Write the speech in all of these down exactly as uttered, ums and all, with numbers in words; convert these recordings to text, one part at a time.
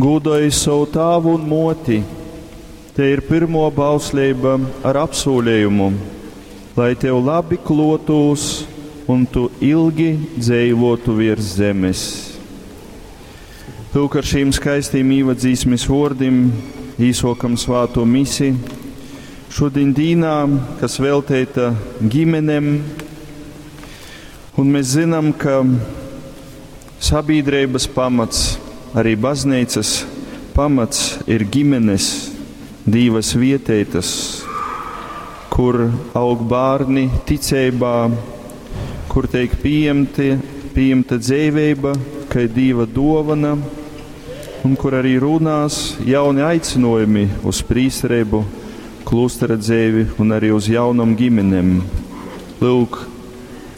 Gūdoj savu tāvu un moti. Te ir pirmo bausleiba ar apsūlējumu, lai tev labi klotūs un tu ilgi dzeivotu virs zemes. Lūk, ar šīm skaistīm īvadzīsmes vōrdim īsokam svāto misi. Šodien dīnā, kas velteita ģimenem, un mēs zinām, ka sabiedrības pamats, arī baznīcas pamats ir ģimenes, divas vietētas, kur aug bērni ticībā, kur tiek pieņemti, pieņemta dzīvība, kā Dieva dāvana, un kur arī runās jauni aicinājumi uz prīsterību, klostera dzīvi un arī uz jaunam ģimenēm. Lūk,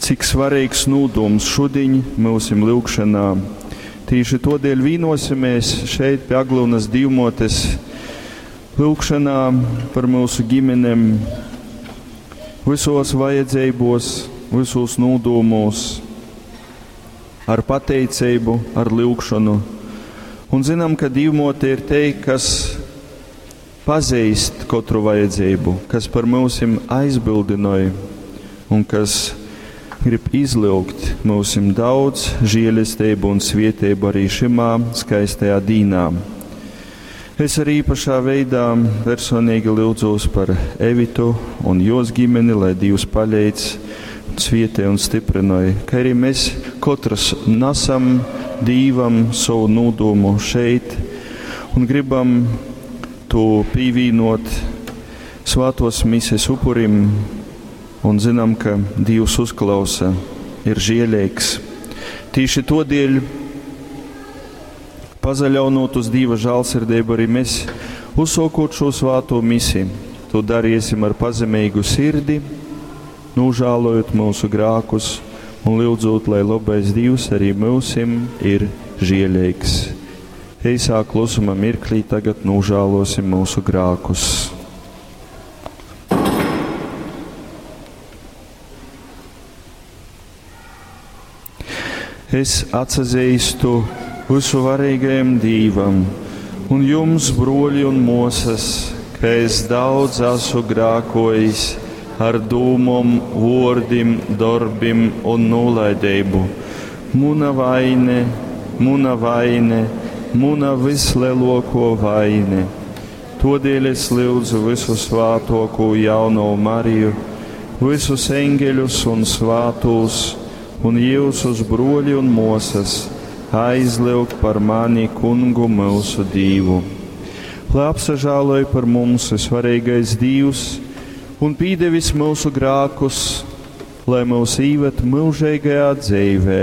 cik svarīgs nūdums šodien mūsim lūgšanā. Tīši todēļ vīnosimies šeit pie Aglonas Dīvmotes lūgšanā par mūsu ģimenēm, visos vajadzībos, visos nūdūmos, ar pateicību, ar lūgšanu. Un zinām, ka Dīvmote ir te, kas pazīst katru vajadzību, kas par mūsim aizbildinoja un kas grib izlūgt mūsim daudz žēlastību un svietēbu arī šimā skaistajā dīnā. Es arī īpašā veidā personīgi lūdzos par Evitu un jos ģimeni, lai Dievs paļeic, svietē un stiprinoja, ka arī mēs katrs nesam Dīvam savu nūdumu šeit un gribam to pīvīnot svātos mises upurim un zinām, ka Dievs uzklausa, ir žēlīgs. Tīši todēļ, pazaļaunot uz Dieva žālsirdību, arī mēs uzsākot šo svāto misi, to darīsim ar pazemīgu sirdi, nožēlojot mūsu grākus un lūdzot, lai labais Dievs arī mūsim ir žēlīgs. Eisā klusuma mirklī tagad nožēlosim mūsu grākus. Es atsazīstu visu varīgajam Dīvam un jums, broļi un mosas, ka es daudz esmu grākojis ar dūmom, vordim, darbim un nolaidību. Muna vaine, muna vaine, muna vislielāko vaine. Todēļ es lūdzu visu svātoko jauno Mariju, visus eņģeļus un svātos, un jūsus broļi un mosas aizliuk par mani kungu mūsu Dīvu. Lai apsažāloj par mums svarīgais Dīvs un pīdevis mūsu grākus, lai mūs īvet mūžīgajā dzīvē.